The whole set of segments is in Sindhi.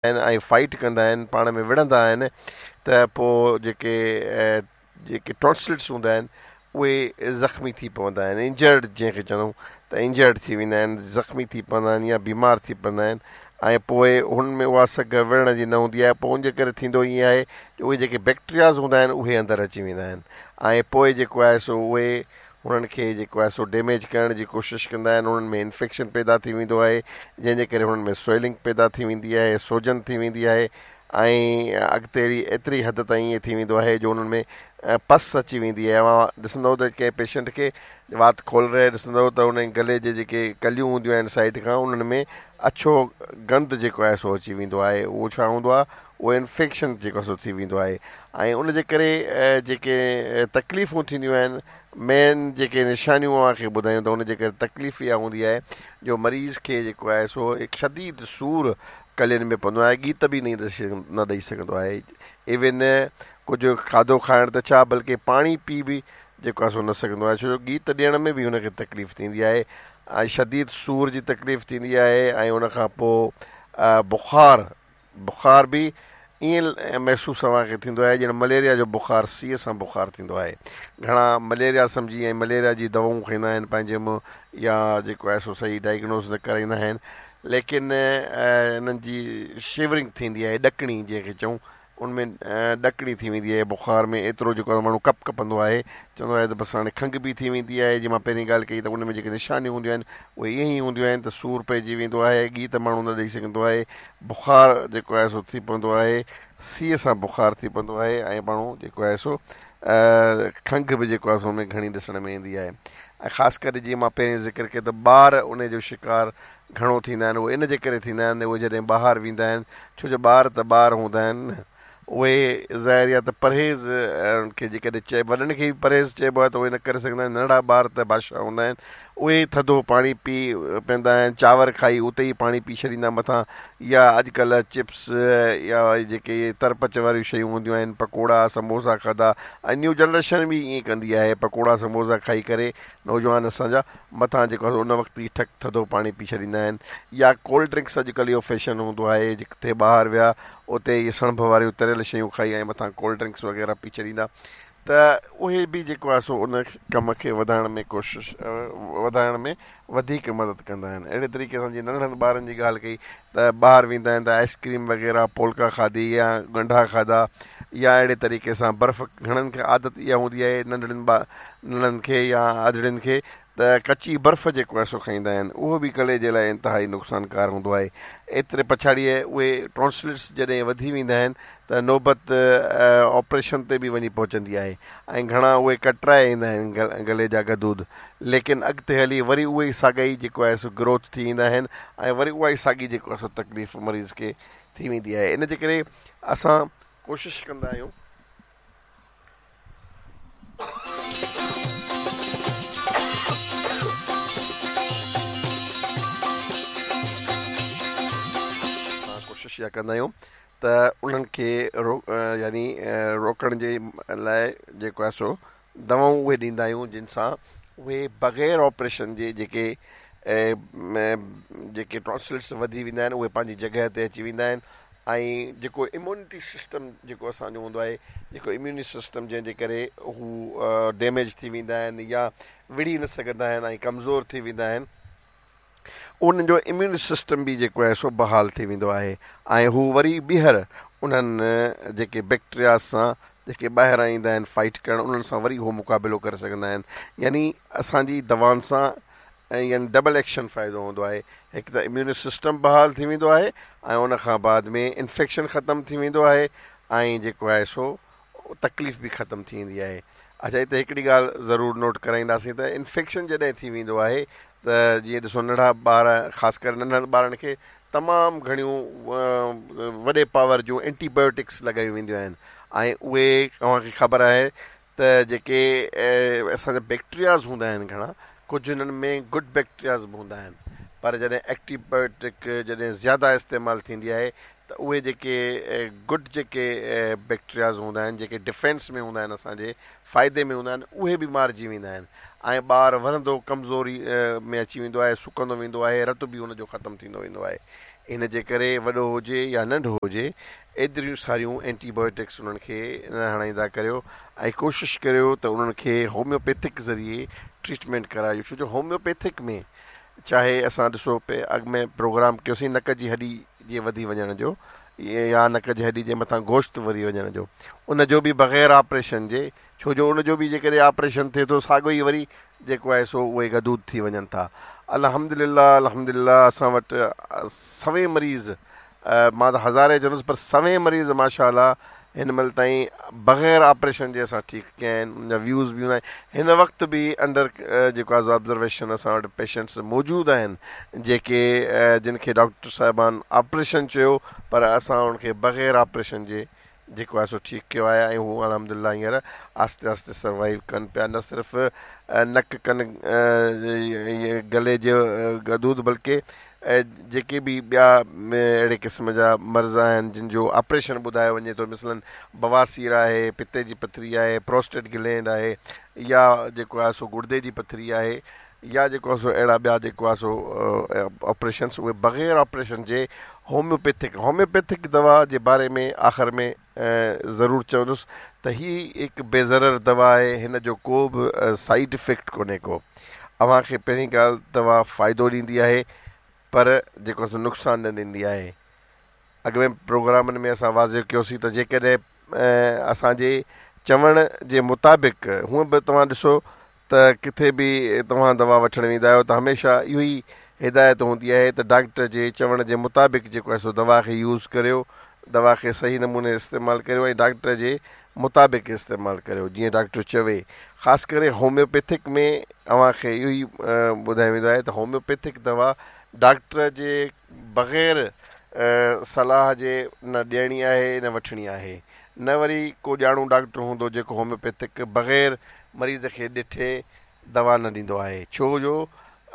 آهن ۽ فائيٽ ڪندا آهن پاڻ ۾ وڙهندا آهن ته پوء جيڪي جيڪي ٽانسلس هوندا آهن اهي زخمي ٿي پوندا آهن انجرڊ جنهن کي چوندائون ته انجرڊ ٿي ويندا آهن زخمي ٿي پوندا آهن يا بيمار ٿي پوندا آهن ۽ پوء هن ۾ اها سگهه وڙهڻ جي نه هوندي آهي پوء ان جي ڪري ٿيندو ائين آهي جو اهي جيڪي بيڪٽرياز هوندا آهن اهي اندر اچي ويندا آهن ۽ پوء جيڪو آهي سو اهي انهن کي جيڪو آهي سو ڊيميج ڪرڻ جي ڪوشش ڪندا آهن انهن ۾ انفيڪشن پيدا ٿي ويندو آهي جنهن جي ڪري انهن ۾ سويلنگ پيدا ٿي ويندي آهي سوجن ٿي ويندي آهي ۽ اڳتي هلي ايتري حد تائين ائين ٿي ويندو آهي جو انهن ۾ پس اچي ويندي آهي اوهان ڏسندؤ ته ڪنهن پيشنٽ کي وات کولرائي ڏسندؤ ته انهن گلي جي جيڪي ڪليون هونديون آهن سائيڊ کان انهن ۾ اڇو گند جيڪو آهي سو اچي ويندو آهي اهو ڇا هوندو آهي اهو انفيڪشن جيڪو آهي سو ٿي ويندو آهي ۽ ان جي ڪري جيڪي تڪليفون ٿينديون آهن مين جيڪي نشانيون اوهان کي ٻڌايون ته ان جي ڪري تڪليف اها هوندي آهي جو مريض کي جيڪو آهي سو هڪ شديد سور ڪلين ۾ پوندو آهي ڳيت به نه ڏئي سگهندو آهي ايون ڪجهه کاڌو کائڻ ته ڇا بلڪه پاڻي پي به جيڪو آهي سو نه سگهندو آهي ڇو جو ڳيت ڏيڻ ۾ به هن کي تڪليف ٿيندي آهي ۽ شديد سور جي تڪليف ٿيندي آهي ۽ ان کان پوء بخار بخار به ائين محسوس اوهان کي ٿيندو آهي ڄڻ مليريا جو بخار سيء سان بخار ٿيندو آهي. گهڻا مليريا سمجهي ۽ مليريا جي دوائون کائيندا آهن پنهنجي منهن يا جيڪو آهي سو صحيح ڊائگنوز نه ڪرائيندا آهن ليڪن انهن جي شيورنگ ٿيندي آهي ڏڪڻي جنهن کي چئون ان ۾ ڏڪڻي ٿي ويندي آهي بخار ۾ ايترو جيڪو آهي ماڻهو ڪپ ڪپندو آهي چوندو آهي ته بس هاڻي کنگهه به ٿي ويندي آهي جيئن مان پهرين ڳالهه ڪئي ته ان ۾ جيڪي نشانيون هونديون آهن اهي ائين ئي هونديون آهن ته سور پئجي ويندو آهي ڳيت ماڻهو نه ڏئي سگهندو آهي بخار جيڪو آهي سو ٿي پوندو آهي سيء سان بخار ٿي پوندو آهي ۽ ماڻهو جيڪو آهي سو کنگهه به جيڪو آهي سو ان ۾ گهڻي ڏسڻ ۾ ايندي آهي ۽ خاص ڪري جيئن مان پهرين ذڪر ڪيو ته ٻار ان جو شڪار گهڻو ٿيندا آهن اهي ان جي ڪري ٿيندا آهن اهي جڏهن ٻاهر ويندا آهن ڇو جو ٻار ته ٻار هوندا آهن نه اهي ظاهر يا ته پرهيز انهن کي جيڪڏهن چئي وڏن کي به پرهيز چئبو آهي ته اهي نه ڪري سگهندا آهن ننڍڙا ٻار ته بادشاهه هوندا آهن اهي ٿڌو پاڻي پي پيندا آهن چانور کائي اتي ئي پاڻي پي ڇڏيندا مٿان يا اڄڪلهه چپس يا جيڪي ترپچ واريون شيون هونديون آهن پڪوڙا سموسا کاڌا ۽ نيو جنريشن به ائين ڪندي آهي پڪوڙا سموسا کائي ڪري نوجوان اسان جا مٿان جيڪو آهي ان وقت ئي ٺڪ ٿڌو پاڻي پي ڇڏيندا آهن يا ڪولڊ ڊرنڪس اڄڪلهه اهو فيشن هوندو آهي جتي ٻاهر ويا اتي اهي سڻڀ واريون تريل شيون کائي ۽ مٿان ڪولڊ ڊرنڪس وغيره پي ڇڏيندا ته اهي به جيڪو آهي سو ان ڪم کي وڌائڻ ۾ ڪوشش وڌائڻ ۾ وڌيڪ مدد ڪندا آهن اهڙي طريقي سان جيئن ننڍڙن ٻارن جي ڳالهه ڪئي ته ٻاهر ويندا آهن ته آئس ڪريم وغيره پولڪا کاڌي يا ڳنڍا کاڌا يا اهڙي طريقي سان برف گهڻن کي عادت اها هوندي آهي ننڍڙن ٻا ننڍڙن کي يا اڌڙين کي ته ڪچي برف جيڪو آهي سو کائيندا آهن اهو به گلي جي لاء انتهائي نقصانڪار هوندو آهي ايتري پڇاڙيء اهي ٽانسلس جڏهن وڌي ويندا آهن ته نوبت آپريشن تي به وڃي پهچندي آهي ۽ گهڻا اهي ڪٽرائي ايندا آهن گلي جا غدود ليڪن اڳتي هلي وري اهي ئي ساڳا ئي جيڪو آهي سو گروٿ ٿي ايندا آهن ۽ وري اها ئي ساڳي جيڪو آهي سو تڪليف مريض کي ٿي ويندي آهي ان جي ڪري اسان ڪوشش ڪندا آهيون اسان ڪوشش اها ڪندا آهيون ته انهن کي رو يعني روڪڻ جي لاء جيڪو آهي سو دوائون اهي ڏيندا آهيون جن سان اهي بغير آپريشن جي جيڪي جيڪي ٽانسلس وڌي ويندا آهن اهي پنهنجي جڳهه تي اچي ويندا آهن ۽ جيڪو اميونٽي سسٽم جيڪو اسان جو هوندو آهي جيڪو اميوني سسٽم جنهن جي ڪري هو ڊيميج ٿي ويندا آهن يا وڙهي نه سگهندا آهن ۽ ڪمزور ٿي ويندا آهن انهن جو اميون سسٽم به جيڪو آهي سو بحال ٿي ويندو آهي ۽ هو وري ٻيهر انهن جيڪي بيڪٽريا سان جيڪي ٻاهران ايندا آهن فائٽ ڪرڻ انهن سان وري هو مقابلو ڪري سگهندا آهن يعني اسان جي دوائن سان ۽ يعني ڊبل ايڪشن فائدو هوندو آهي هڪ ته اميون سسٽم بحال ٿي ويندو آهي ۽ ان کان بعد ۾ انفيڪشن ختم ٿي ويندو آهي ۽ جيڪو آهي سو تڪليف به ختم ٿي ويندي آهي اڇا هتي هڪڙي ڳالهه ضرور نوٽ ڪرائينداسين ته انفيڪشن جڏهن ٿي ويندو آهي ته جيئن ڏسو ننڍڙا ٻار خاص ڪري ننڍڙن ٻارن کي تمام گهڻيون وڏي پاور جون اينٽي بايوٽڪس لڳايون وينديون آهن ۽ اهي اوهان کي خبر آهي ته جيڪي اسان جا بيڪٽرياز هوندا آهن گهڻا ڪجهه انهن ۾ گڊ بيڪٽرياز به هوندا آهن پر جڏهن ايڪٽي بايوٽڪ جڏهن زياده استعمال ٿيندي آهي ته اهي جيڪي گڊ جيڪي بيڪٽرياز هوندا آهن جيڪي ڊفينس ۾ هوندا آهن اسان جي فائدي ۾ هوندا آهن اهي به مارجي ويندا آهن ۽ ٻار ورندو ڪمزوري ۾ اچي ويندو آهي سڪندو ويندو آهي رت به ان جو ختم ٿيندو ويندو آهي. ان جي ڪري وڏو هجي يا ننڍو هجي ايتريون ساريون اينٽي بايوٽڪس انهن کي نه هڻائيندا ڪريو ۽ ڪوشش ڪريو ته انهن کي هوميوپيٿڪ ذريعي ٽريٽمينٽ ڪرايو ڇو جو هوميوپيٿڪ ۾ چاهي اسان ڏسو پي اڳ ۾ پروگرام ڪيوسين نڪ جي هڏي جي وڌي وڃڻ جو يا نڪ جي هڏي جي مٿان گوشت وري وڃڻ جو ان جو به بغير آپريشن جي ڇو جو ان جو به جيڪڏهن آپريشن ٿئي ٿو ساڳيو ئي وري جيڪو آهي سو اهي غدود ٿي وڃن ٿا. الحمدلله الحمدلله اسان وٽ سوين مريض مان ته هزارين چوندس پر سوين مريض ماشاء الله هن مهل تائين بغير آپريشن جي اسان ٺيڪ ڪيا آهن ان جا ويوز به هوندا آهن هن وقت به انڊر جيڪو آهي آبزرويشن اسان وٽ پيشنٽس موجود آهن جيڪي جن کي ڊاڪٽر صاحبان آپريشن چيو پر اسان انهن کي بغير آپريشن جي جيڪو آهي سو ٺيڪ ڪيو آهي ۽ هو الحمد لله هينئر آهستي آهستي سروائيو ڪن پيا نه صرف نڪ ڪن گلي جو غدود بلڪه جيڪي به ٻيا اهڙي قسم جا مرض آهن جن جو آپريشن ٻڌايو وڃي ٿو مثلاً بواسير آهي پتي جي پٿري آهي پروسٽيٽ گلينڊ آهي يا جيڪو آهي سو گڙدي جي پٿري آهي يا جيڪو آهي سو اهڙا ٻيا جيڪو آهي سو آپريشنس اهي بغير آپريشن جي هوميوپيٿڪ هوميوپيٿڪ دوا جي باري ۾ آخر ۾ ضرور چوندس ته هي هڪ بي ضرر دوا آهي هن جو ڪو به سائيڊ افيڪٽ ڪونهي ڪو اوهان کي پهرين ڳالهه دوا فائدو ڏيندي آهي پر جيڪو آهي سو نقصان نه ڏيندي آهي اڳ ۾ پروگرامن ۾ اسان واضح ڪيوسين ته جيڪڏهن اسان جي چوڻ جي مطابق هونء به توهان ڏسو ته ڪٿي به توهان دوا وٺڻ ويندا آهيو ته هميشه اهو ئي هدايت هوندي آهي ته ڊاڪٽر جي چوڻ جي مطابق جيڪو آهي سو دوا کي يوز ڪريو، دوا کي صحيح نموني استعمال ڪريو ۽ ڊاڪٽر جي مطابق استعمال ڪريو جيئن ڊاڪٽر چوي. خاص ڪري هوميوپيٿڪ ۾ اوهان کي اهو ئي ٻڌايو ويندو آهي ته هوميوپيٿڪ دوا ڊاڪٽر جي بغير صلاح جي نه ڏيڻي آهي نه وٺڻي آهي نه وري ڪو ڄاڻو ڊاڪٽر هوندو جيڪو هوميوپيٿڪ بغير مريض کي ڏٺي دوا نه ڏيندو آهي ڇو جو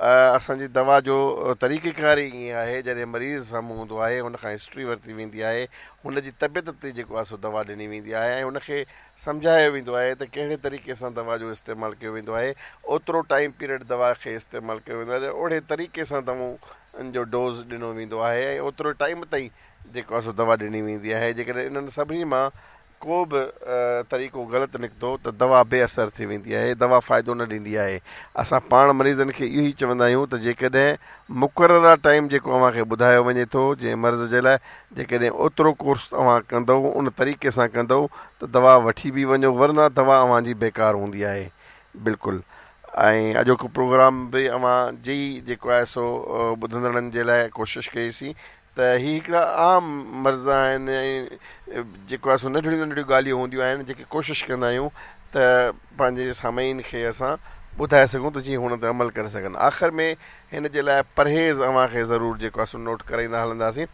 اسان جي دوا جو طريقيڪار ئي ائين آهي جڏهن مريض سامهون هوندو آهي هن کان هسٽري ورتي ويندي آهي هن جي طبيعت تي جيڪو آهي سو دوا ڏني ويندي آهي ۽ هن کي سمجهايو ويندو آهي ته ڪهڙي طريقي سان دوا جو استعمال ڪيو ويندو آهي اوترو ٽائيم پيريڊ دوا کي استعمال ڪيو ويندو آهي اوهڙي طريقي سان دوائن جو ڊوز ڏنو ويندو آهي ۽ اوترو ٽائيم تائين جيڪو آهي سو دوا ڏني ويندي آهي جيڪڏهن انهن سڀني مان ڪو به طريقو غلط نڪتو ته دوا بي اثر ٿي ويندي آهي، دوا فائدو نه ڏيندي آهي. اسان پاڻ مريضن کي اهو ئي چوندا آهيون ته جيڪڏهن مقرره ٽائيم جيڪو اوهان کي ٻڌايو وڃي ٿو جنهن مرض جي لاء جيڪڏهن اوترو ڪورس اوهان ڪندؤ ان طريقي سان ڪندؤ ته دوا وٺي به وڃو ورنه دوا اوهان جي بيڪار هوندي آهي بلڪل ۽ اڄوڪو پروگرام به اوهان جي ئي جيڪو آهي سو ٻڌندڙن جي لاء ڪوشش ڪئي سين ته هي هڪڙا عام مرض آهن ۽ جيڪو آهي سو ننڍڙيون ننڍڙيون ڳالهيون هونديون آهن جيڪي ڪوشش ڪندا آهيون ته پنهنجي سامعين کي اسان ٻڌائي سگهون ته جيئن هن تي عمل ڪري سگهن آخر ۾ هن جي لاء پرهيز اوهان کي ضرور جيڪو آهي سو نوٽ ڪرائيندا هلنداسين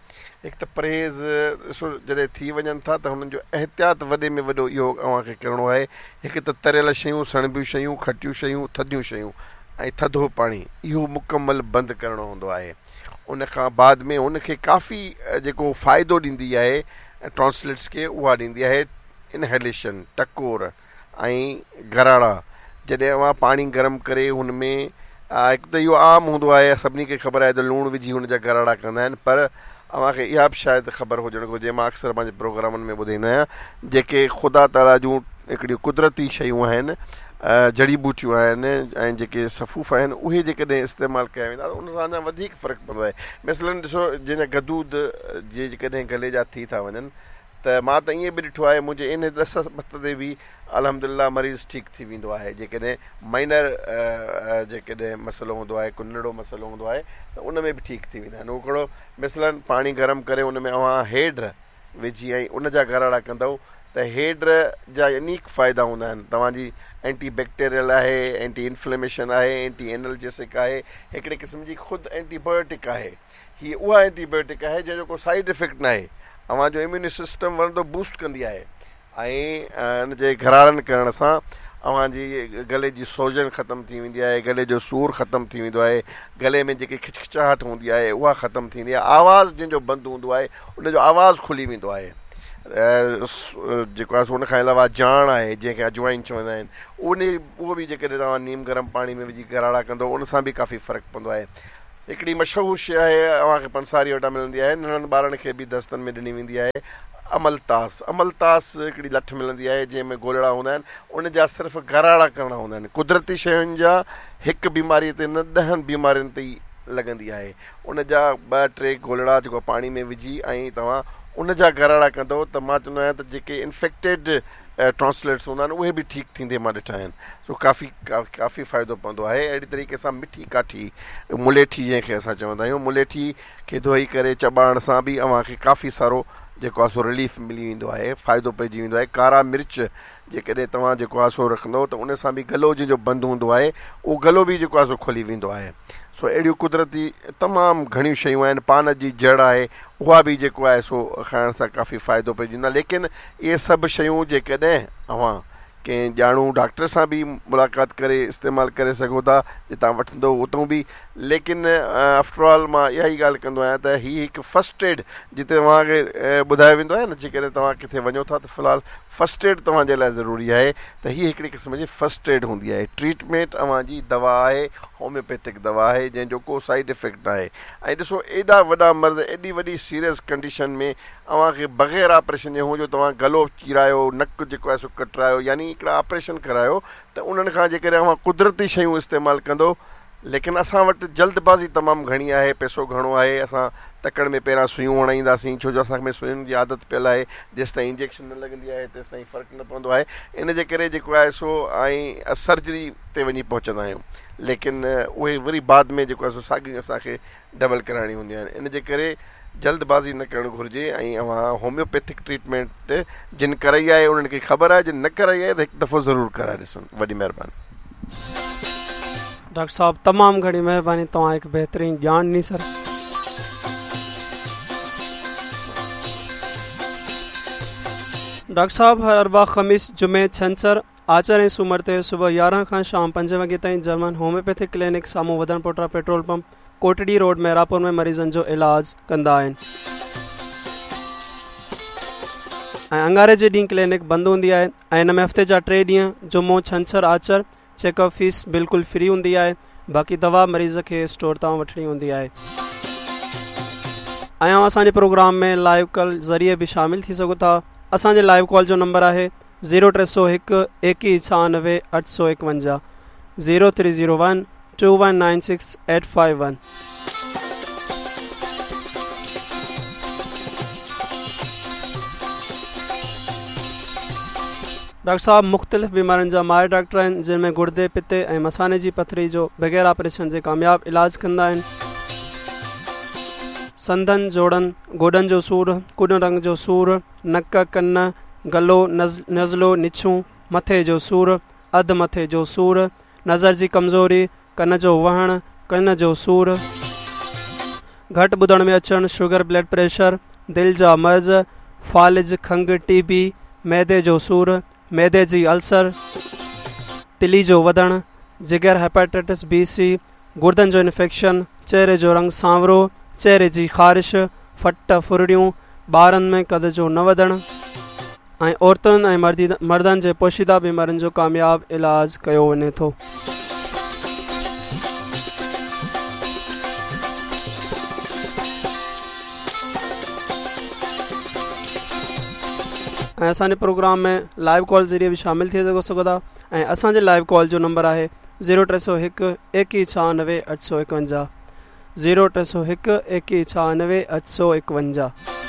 هڪ ته پرهيز ڏسو جڏهن ٿي وڃن ٿا ته هنن جو احتياط وڏي ۾ وڏو اهو اوهان کي ڪرڻو آهي هڪ ته تريل شيون سڻڀيون شيون کٽيون شيون ٿڌيون شيون ۽ ٿڌو پاڻي اهو مڪمل بند ڪرڻو هوندو آهي ان کان بعد ۾ هن کي ڪافي جيڪو فائدو ڏيندي آهي ٽانسلٽس کي اها ڏيندي آهي انهيليشن ٽڪور ۽ گراڙا جڏهن اوهان پاڻي گرم ڪري هن ۾ هڪ ته اهو عام هوندو آهي سڀني کي خبر آهي ته لوڻ وجهي هن جا گراڙا ڪندا آهن پر اوهان کي اها به شايد خبر هجڻ گهرجي مان اڪثر پنهنجي پروگرامن ۾ ٻڌائيندو آهيان جيڪي خدا تعاليٰ جون هڪڙيون قدرتي شيون آهن جڙي ٻوٽيون آهن ۽ جيڪي سفوف آهن اهي جيڪڏهن استعمال ڪيا ويندا ته ان سان اڃا وڌيڪ فرق پوندو آهي مثلاً ڏسو جنهن جا غدود جيڪڏهن گلي جا ٿي ٿا وڃن ته مان ته ائين به ڏٺو آهي منهنجي ان ڏس پت تي به الحمد لله مريض ٺيڪ ٿي ويندو آهي جيڪڏهن مائنر جيڪڏهن مسئلو هوندو آهي ڪو ننڍڙو مسئلو هوندو آهي ته ان ۾ به ٺيڪ ٿي ويندا آهن اهو ڪهڙو مثلاً پاڻي گرم ڪري ان ۾ اوهان هيڊ وجهي ۽ ان جا گراڙا ڪندؤ ته هيڊ جا انيڪ فائدا هوندا آهن توهان جي اينٽي بيڪٽيريل آهي اينٽي انفليميشن آهي اينٽي اينلجيسڪ آهي هڪڙي قسم جي خود اينٽي بايوٽڪ آهي هي اها اينٽي بايوٽڪ آهي جنهن جو ڪو سائيڊ افيڪٽ ناهي اوهان جو اميون سسٽم ورندو بوسٽ ڪندي آهي ۽ ان جي گراڙن ڪرڻ سان اوهان جي گلي جي سوجن ختم ٿي ويندي آهي، گلي جو سور ختم ٿي ويندو آهي، گلي ۾ جيڪي کچکچاهٽ هوندي آهي اها ختم ٿيندي آهي، آواز جنهن جو بند هوندو آهي ان جو آواز کلي ويندو آهي. جيڪو آهي سو ان کان علاوه جاڻ آهي جنهن کي اجوائن چوندا آهن ان اهو به جيڪڏهن توهان نيم گرم پاڻي ۾ وجهي گراڙا ڪندو ان سان به ڪافي فرق پوندو آهي. هڪڙي مشهور شيء آهي اوهان کي پنساري وٽان ملندي آهي ننڍن ٻارن کي به دستن ۾ ڏني ويندي آهي املتاس املتاس هڪڙي لٺ ملندي آهي جنهن ۾ گولڙا هوندا آهن ان جا صرف گراڙا ڪرڻا هوندا آهن قدرتي شين جا هڪ بيماري تي نه ڏهن بيمارين تي ئي لڳندي آهي ان جا ٻه ٽي گولڙا جيڪو پاڻي ۾ وجهي ۽ توهان ان جا گراڙا ڪندو ته مان چوندو آهيان ته جيڪي انفيڪٽيڊ ٽانسلٽس هوندا آهن اهي به ٺيڪ ٿيندي مان ڏٺا آهن سو ڪافي ڪافي فائدو پوندو آهي اهڙي طريقي سان مٺي ڪاٺي مليٺي جنهن کي اسان چوندا آهيون مليٺي کي ڌوئي ڪري چٻاڙڻ سان به اوهان کي ڪافي سارو جيڪو آهي سو رليف ملي ويندو آهي فائدو پئجي ويندو آهي ڪارا مرچ جيڪڏهن توهان جيڪو آهي سو رکندو ته ان سان به گلو جنهن جو بند هوندو آهي اهو گلو به جيڪو آهي سو کلي ويندو آهي سو اهڙيون قدرتي تمام گهڻيون شيون آهن پان جي جڙ آهي اها به جيڪو آهي سو کائڻ سان ڪافي فائدو پئجي ويندو آهي ليڪن اهي سڀ شيون جيڪڏهن اوهان ڪنهن ڄاڻو ڊاڪٽر سان به ملاقات ڪري استعمال ڪري سگهو ٿا جتان وٺندو اتان به ليڪن آفٽر آل مان اها ئي ڳالهه ڪندو آهيان ته هي هڪ فرسٽ ايڊ جتي اوهان کي ٻڌايو ويندو آهي نه جيڪڏهن توهان ڪٿي وڃو ٿا ته في الحال فرسٽ ايڊ توهان جي لاء ضروري آهي ته هي هڪڙي قسم جي فرسٽ ايڊ هوندي آهي ٽريٽمينٽ اوهان جي دوا آهي هوميوپيٿڪ دوا آهي جنهن جو ڪو سائيڊ افيڪٽ ناهي ۽ ڏسو ايڏا وڏا مرض ايڏي وڏي سيريس ڪنڊيشن ۾ اوهان کي بغير آپريشن جي هون جو توهان گلو چيرايو نڪ جيڪو آهي سو ڪٽرايو يعني هڪڙا آپريشن ڪرايو ته انهن کان جيڪڏهن اوهان قدرتي شيون استعمال ڪندو ليڪن اسان وٽ جلد بازي تمام گهڻي آهي، پئسو گهڻو آهي، اسان تڪڙ ۾ پهريان سيون هڻائينداسين، ڇو جو اسان ۾ سوين جي عادت پيل آهي، جيستائين انجيڪشن نه لڳندي آهي تيستائين فرق نه پوندو آهي، ان جي ڪري جيڪو آهي سو ۽ سرجري تي وڃي پهچندا آهيون، ليڪن اهي وري بعد ۾ جيڪو آهي سو ساڳيون اسان کي ڊبل ڪرائڻيون هونديون آهن، ان جي ڪري جلد بازي نه ڪرڻ گهرجي ۽ اوهان هوميوپيٿڪ ٽريٽمينٽ جن ڪرائي آهي انهن کي خبر آهي جن نه ڪرائي آهي ته هڪ دفعو ضرور ڪرائي ڏسن وڏي مهرباني. ڊاڪٽر صاحب تمام گهڻي مهرباني توهان هڪ بهترين ڄاڻ ڏني سر. ڊاڪٽر صاحب هر اربع خميس جمعي ڇنڇر آچر ۽ سومر تي صبح 11 کان شام 5 وڳي تائين جرمن هوميوپيٿڪ ڪلينڪ سامهون وڌڻ پوٽا petrol pump Kotri road Mehrabpur ۾ مريضن جو علاج ڪندا آهن ۽ اڱاري جي ڏينهن ڪلينڪ بند هوندي آهي ۽ ان ۾ هفتي جا ٽي ڏينهن جمعو ڇنڇر آچر چيڪ اپ فيس بلڪل فري هوندي آهي باقي دوا مريض کي اسٽور تان وٺڻي هوندي آهي ۽ اوهان اسان جي پروگرام ۾ لائيو ڪال ذريعي به شامل ٿي سگهو ٿا اسان جي لائيو ڪال جو نمبر آهي زيرو 301 21 96 851 0301 2196 851. ڊاڪٽر صاحب مختلف بيمارين جا ماهر ڊاڪٽر آهن جن ۾ گردي پتي ۽ مثاني جي پٿري جو بغير آپريشن جي ڪامياب علاج ڪندا آهن سنڌن جوڙن گوڏن جو سور ڪوڏن رنگ جو سور نڪ، ڪن، گلو، نزلو، نڇون، مٿي جو سور، اڌ مٿي جو سور، نظر جي ڪمزوري، ڪن جو وهڻ، ڪن جو سور، گهٽ ٻڌڻ ۾ اچڻ، شگر، بلڊ پريشر، دل جا مرض، فالج، کنگهه، ٽي بي، معدي جو سور، معدي جي السر، تلي جو وڌڻ، جگر، هيپاٽائٽس بي، سي، گردن جو انفيڪشن، چهري جو رنگ سانورو، چهري جي خارش، ڦٽ، ڦرڙيون، ٻارن ۾ قد جو نه وڌڻ ۽ عورتن ۽ مردن جي پوشيده بيمارين جو ڪامياب علاج ڪيو وڃي ٿو. ۽ اسان جي پروگرام ۾ لائيو ڪال ذريعي به شامل ٿي سگهو ٿا ۽ اسان جي لائيو ڪال جو نمبر آهي زيرو 301 21 96 851 زيرو 301 21 96 851.